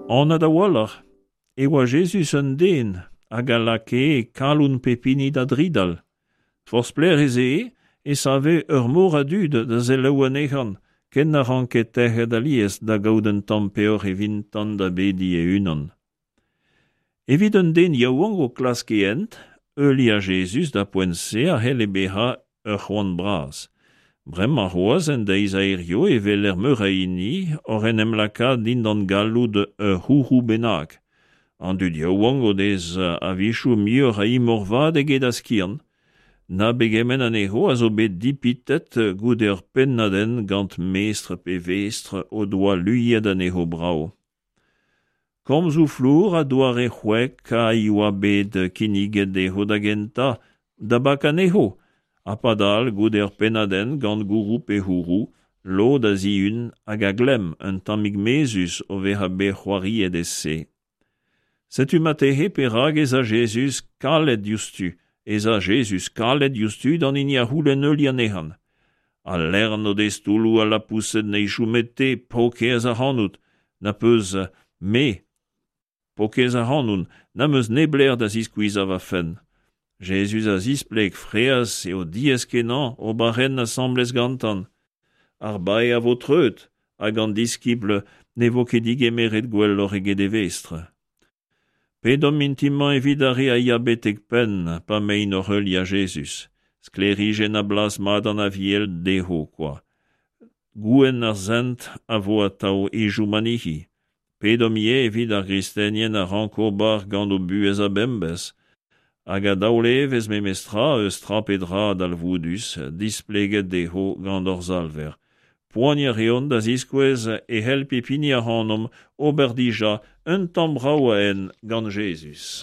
Anat a-walc'h e oa Jezuz un den hag a lakae kalon pep hini da dridal. Forzh pelec'h ez ee e save ur mor a dud da selaou anezhañ, ken na ranke tec'het alies da gaout un tamm peoc'h evintan da bediñ e-unan. Evit un den yaouank o klask e hent, heuliañ Jezuz d'ar poent-se a c'helle bezañ ur c'hoant bras. Bremañ c'hoazh en deiz a hiziv e weler meur a hini oc'h en em lakaat dindan galloud ur c'houroù bennak. An dud yaouank o dez a-wechoù muioc'h a imor vat eget a skiant. Na pegement anezho a zo bet dipitet goude ur pennad-hent gant mestr pe vestr o doa luiet anezho brav. Komzoù flour ha doare c'hwek a yoa bet kinniget dezho da gentañ da bakañ anezho, ha padal goude ur pennad-hent gant gourou pe c'houroù, lod a zihun hag a glemm un tammig mezhus o vezañ bet c'hoariet e-se. Setu marteze perak ez a Jezuz kalet diouzhtu, ez a Jezuz kalet diouzhtu d'an hini a c'houlenn heuliañ anezhañ. Al lern o dez toulloù al lapoused neizhioù met te, paourkaezh ac'hanout, na peus me, paourkaezh ac'hanoun, n'am eus neblec'h da ziskuizhañ va fenn. Jezuz a zispleg fraezh eo diaes-kenañ ober hent asambles gantañ. Ar bae a vo treut, hag an diskibl ne vo ket digemeret gwelloc'h eget e vestr. Pedomp mintin-mañ evit ar re a ya betek penn pa 'maint oc'h heuliañ Jezuz. Sklêrijenn a blas mat an Aviel dezho kwa. Gouenn ar sent a vo atav e Joumanihi. Pedomp ivez evit ar gristenien a rank ober gant o buhez a-bemdez hag a daol evezh memestra eus tra pe dra dalvoudus displeget dezho gant hor Salver. Poaniañ a reont da ziskouez e c'hell pep hini ac'hanomp ober dija un tamm brav a hent gant Jezuz.